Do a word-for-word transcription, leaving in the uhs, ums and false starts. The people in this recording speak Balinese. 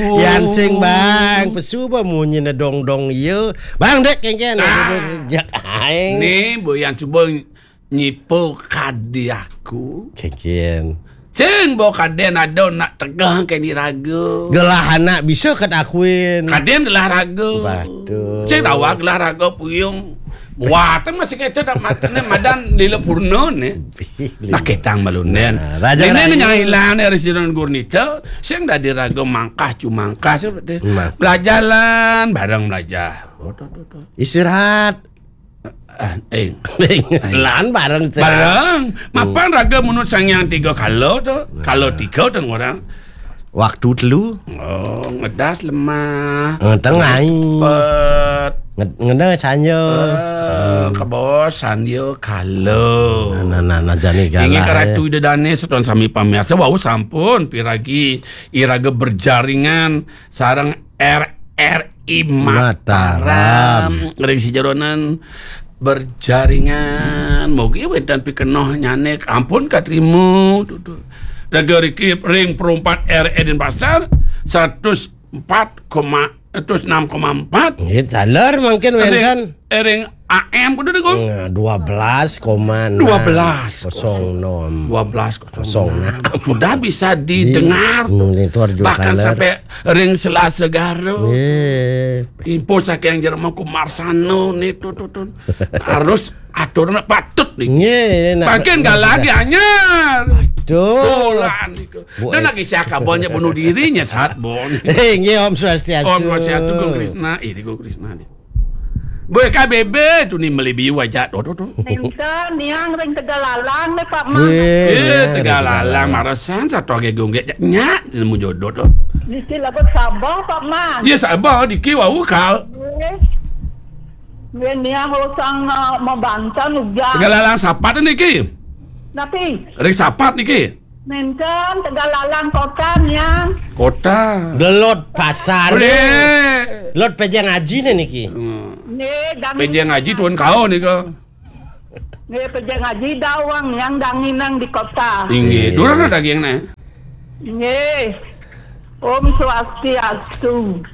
Yan sing, Bang, pesu ba munyine dong-dong ieu. Bang, dek, kengken. Ah. Jak aing. Nih, Bu, yang coba nyipo kadi aku. Kengken. Sing bo kaden ada nak tegah ke ni raga. Gelah anak bisa kat akuin. Kaden gelah raga. Waduh. Sing tawa gelah raga puyung. Wah, teng masih kecil dah matene madan lila purna nih. Nah, ketang malunen. Nah, raja ini raja. Nyailan dari Siron Gurnita, sing dadi raga mangkah cumangkah seperti. Mangkah. Belajaran bareng belajar. Istirahat. Ah, eh. Lan bareng istirahat. Bareng. Mapan raga menurut Sang Yang tiga kala tu. Nah. Kala tiga tu orang. Waktu telu. Oh, ngedas lemah. Ngeteng ai. Pet. Nge-, ngena sanya. Eh, kebos sandia kala. Nah, nah, nah, nah, jani galah. Ingat karatu ida dane setuan sami pamirsa, wau sampun piragi iraga berjaringan sareng R R I Mataram. Mataram. Ring sijeronan berjaringan. Mugi wenten pikenoh nyanek. Ampun katrima. Tuh, tuh. Raga riki ring perumpat R R I Denpasar seratus empat koma, seratus enam koma empat. Nggih, saler mangkin wenten. Ring, ring A M kudu deh, Kong. Nah, dua belas koma enam. Dua belas. Kosong enam. Dua belas kosong enam. Sudah bisa didengar. Di monitor juga. Bahkan saler. Sampai ring Selat Segara. Nggih. Info saking Jerman ku Marsano nih, tuh, tuh, tuh. Harus aturan patut nih. Nggih, nak. Makin gak lagi anyar. Aduh. Dolan nih. Wah. Dia lagi siak kabonnya bunuh dirinya saat bon. Eh, nggih, Om Swastiastu. Om Swastiastu, Gung Krisna. Ini Gung Krisna nih. Boy K B B tu ni meli biu aja. Tuh, tuh, tuh. Nenten, niang ring Tegalalang nih, Pak Mang. Wih, eh, niang ring Tegalalang, Tegalalang. Marasan satu agi gung gek. Nyak, nemu jodoh tuh. Niki lagu Sabah, Pak Mang. Iya, Sabah, diki wau kal. Nggih. Nggih, niang usang, eh, membantan uga. Tegalalang sapat niki. Napi? Ring sapat niki. Nenten, Tegalalang kota, niang. Kota. Delot pasar. Bre. Lot pejeng aji nih niki. Hmm. Nggih, dang-, pejeng aji tuan kau nih kau. Nggih, pejeng aji dawang niang danginang di kota. Inggih, iya. Durang ada daging nih. Nggih. Om Swastiastu.